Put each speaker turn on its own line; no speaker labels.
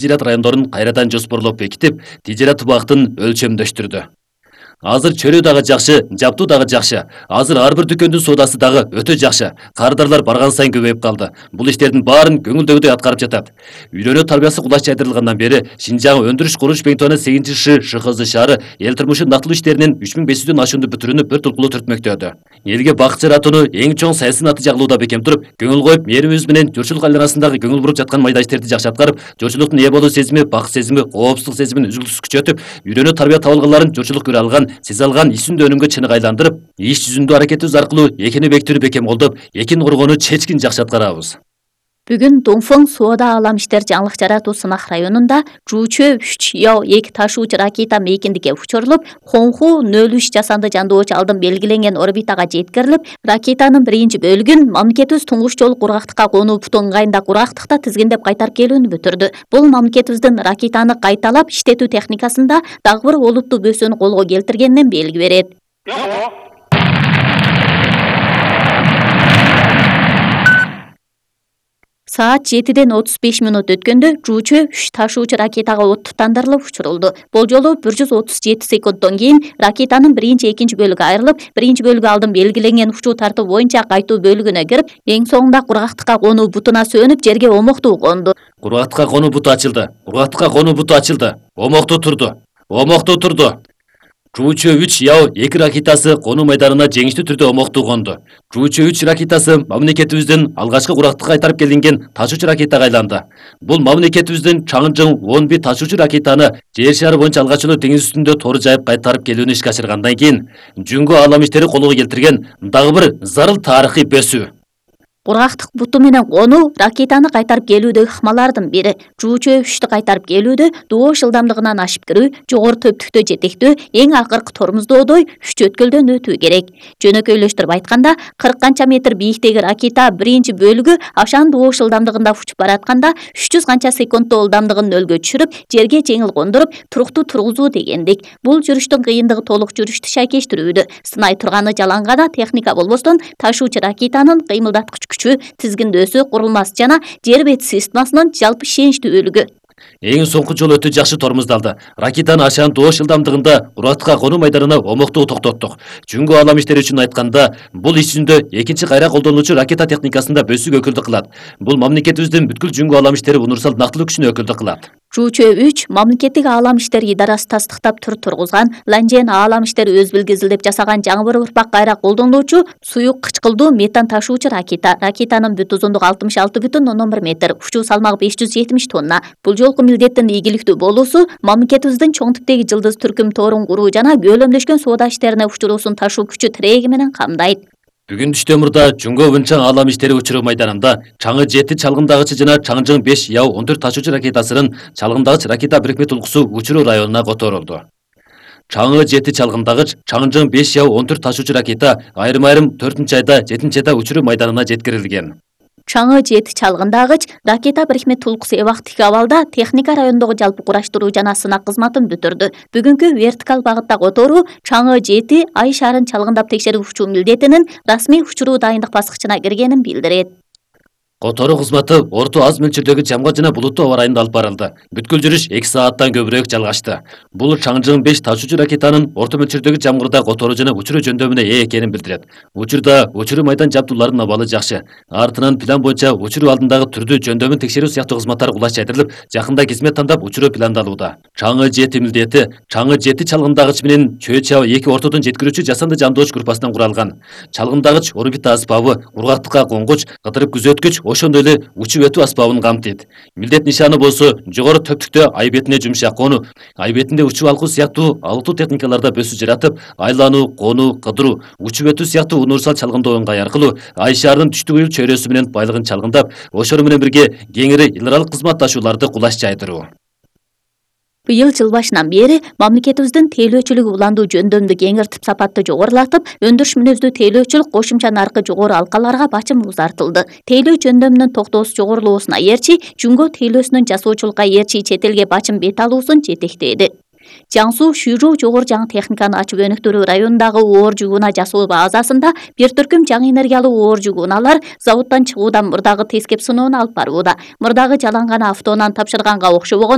тижерет райондорун кайрадан жоспорлоп бекитип, тижерет убактын өлчөмдөштүрдү. Азыр чөлөө дагы жакшы, жаптуу дагы жакшы. Азыр ар бир дүкөндүн соодасы дагы өтө жакшы. Кардарлар барган сайын көбөйүп калды. Бул иштердин баарын көңүлдөгүдөй аткарып жатат. Үйрөнүү тарбиясы кулаш жайдырылгандан бери Шинжаң өндүрүш курулуш бекитүүнүн 8 ШХЗ шаары эл турмушу нактылуу иштеринин 3500дөн ашуунду бүтүрүүнү бир толкулуу түртмөктөдү. Элге бакыт жаратууну эң чоң саясий натыйжа кылууда бекем туруп, көңүл коюп, мээрибиз менен журтчулук айланасындагы көңүл буруп жаткан майда иштерди жакшы аткарып, журтчулуктун ээ болуу сезими, бакыт сезими, коопсуздук сезимин үзүлтүксүз күчөтүп, үйрөнүү тарбия табылганларын журтчулук көрө алган, сезе алган ишүндө өнүмгө чыныгы айландырып, иш жүзүндө аракетибиз аркылуу экини бекитүүнү бекем колдоп, экин коргоону чечкин жакшы аткарабыз.
Бүгүн Доңфоң соода алам иштер жаңылык жаратуу сынак районунда Жуучө 3-2 ташуучу ракета мейкиндикке учурулуп, Хонху 03 жасанды жандоочу алдын белгиленген орбитага жеткирилип, ракетанын биринчи бөлүгүн мамлекетибиз туңгуч жолу кургактыкка конуу буту ыңгайында кургактыкта тизгиндеп кайтарып келүүнү бүтүрдү. Бул мамлекетибиздин ракетаны кайталап иштетүү техникасында дагы бир олуттуу бөсөнү колго келтиргенинен белги берет. Саат 7:35 өткөндө Жуучө 3 ташуучу ракетага от тутандырылып учурулду. Бул жолу 137 секундтон кийин ракетанын биринчи, экинчи бөлүгү айрылып, биринчи бөлүгү алдын белгиленген учуу тартуу боюнча кайтуу бөлүгүнө кирип, эң соңунда кургактыкка конуу бутуна сөнүп, жерге омоктуу конду.
Кургактыкка конуу буту ачылды. Кургактыкка конуу буту ачылды. Омоктуу турду. Омоктуу турду. Жуучө 3-2 ракетасы конуу майданына жеңиштүү түрдө омоктуу конду. Жуучө 3 ракетасы мамлекетибиздин алгачкы кургактыкка кайтарып келинген ташуучу ракетага айланды. Бул мамлекетибиздин Чаңжың 11 ташуучу ракетаны жер шары боюнча алгач эле деңиз үстүндө тору жайып кайтарып келүүнү ишке ашыргандан кийин Жүнгө алам иштери колго келтирген дагы бир зарыл тарыхый бөсүү.
Кургактык буту менен конуу ракетаны кайтарып келүүдөгү ыкмалардын бири. Жуучө 3-тү кайтарып келүүдө доош ылдамдыгынан ашып кирүү, жогору төптүктө жетектөө, эң акыркы тормуздоодой 3 өткөлдөн өтүү керек. Жөнөкөйлөштүрүп айтканда, 40 канча метр бийиктеги ракета биринчи бөлүгү ашан доош ылдамдыгында учуп баратканда 300 канча секунддо ылдамдыгын нөлгө түшүрүп, жерге жеңил кондуруп, туруктуу тургузуу дегендик. Бул жүрүштүн кыйындыгы толук жүрүштү шайкештирүүдө. Сынай турганы жалаң гана техника болбостон, ташуучу ракетанын кыймылдаткыч күчү, тизгиндөөсү, курулмасы жана жер бети системасынын жалпы ишеничтүүлүгү.
Эң соңку жолу өтө жакшы тормуздалды. Ракетаны ашан доош ылдамдыгында кургактыкка конуу майданына омоктуу токтоттук. Жүнгө алам иштери үчүн айтканда, бул иш жүзүндө экинчи кайра колдонулуучу ракета техникасында бөсүүгө өкүлдүк кылат. Бул мамлекетибиздин бүткүл жүнгө алам иштери универсал нактылуу күчүнө өкүлдүк кылат.
Жуучө 3 мамлекеттик аалам иштери идарасы тастыктап тургузган, Ланжен аалам иштери өз билгизилдеп жасаган жаңы бир урпак кайра колдонулуучу суюк кычкылдуу метан ташуучу ракета. Ракетанын бүт узундугу 66,1 метр, учуу салмагы 570 тонна. Бул жолку милдеттин ийгиликтүү болуусу мамлекетибиздин чоң типтеги жылдыз түркүм тоорун куруу жана көөлөмдөшкөн соода иштерине учуруусун ташуу күчү тиреги менен камдайт.
Бүгүн түштөмүрдө Жүнгө Вынчаң аалам иштери учуруу майданында Чаңы 7 чалгындагычы жана Чаңжың 5-14 ташуучу ракетасынын чалгындагыч ракета бирикме тулкусу учуруу районуна которулду. Чаңы 7 чалгындагыч, Чаңжың 5-14 ташуучу ракета айрым-айрым 4-айда, 7-айда учуруу майданына жеткирилген.
Чаңы 7 чалгындагыч ракета бирикме тулкусу эбактык абалда техника райондогу жалпы кураштыруу жана сынак кызматын бүтүрдү. Бүгүнкү вертикаль багытта которуу Чаңы 7 ай шарын чалгындап текшерип учуу милдетинин расмий учуруу дайындык баскычына киргенин билдирет.
Которуу кызматы орто аз мөлчөрдөгү жамгал жана булуттуу аба райында алып барылды. Бүткүл жүрүш 2 сааттан көбүрөөк жалгашты. Бул Чаңжың 5 ташуучу ракетанын орто мөлчөрдөгү жамгырда которуу жана учуруу жөндөмүнө ээ экенин билдирет. Учурда учуруу майдан жабдууларынын абалы жакшы. Артынан план боюнча учуруу алдындагы түрдүү жөндөмүн текшерүү сыяктуу кызматтар кулаш жайдырылып, жакында кизмет тандап учуруу пландалууда. Чаңы 7 милдети Чаңы 7 чалгындагыч менен Чөө-Чао 2 ортодон жеткирүүчү жасанды жандооч группасынан куралган. Чалгындагыч орбита аспабы, кургактыкка конгуч, кыдырып күзөткүч, ошондой эле учуп өтүү аспабын камтыйт. Милдет нишаны болсо жогору төптүктө ай бетине жумшак конуу, ай бетинде учуп алгуу сыяктуу алыктуу техникаларда бөсүү жаратып, айлануу, конуу, кыдыруу, учуп өтүү сыяктуу универсал чалгындоо ыңгай аркылуу ай шаарынын түштүк уюл чөйрөсү менен байлыгын чалгындап, ошону менен бирге кеңири илралык кызматташууларды кулаш жайдыруу.
Быйыл жыл башынан бери мамлекетибиздин тейлөөчүлүгү уландуу жөндөмдү кеңиртип сапатты жогорулатып, өндүрүш мүнөздүү тейлөөчүлүк кошумча наркы жогору алкаларга бачым узартылды. Тейлөө жөндөмүнүн токтоосу жогорулоосуна ээрчи, Жүнгө тейлөөсүнүн жасоочулукка ээрчи чет элге бачым бет алуусун жетектеди. Жаңсу Шүйрүү жогору жаңы техниканы ачып өнүктүрүү районундагы оор жүк унаа жасоо базасында бир түркүм жаңы энергиялуу оор жүк унаалар заводдон чыгуудан мурдагы тескеп сыноону алып барууда. Мурдагы жалаң гана автоунаа тапшырганга окшобогон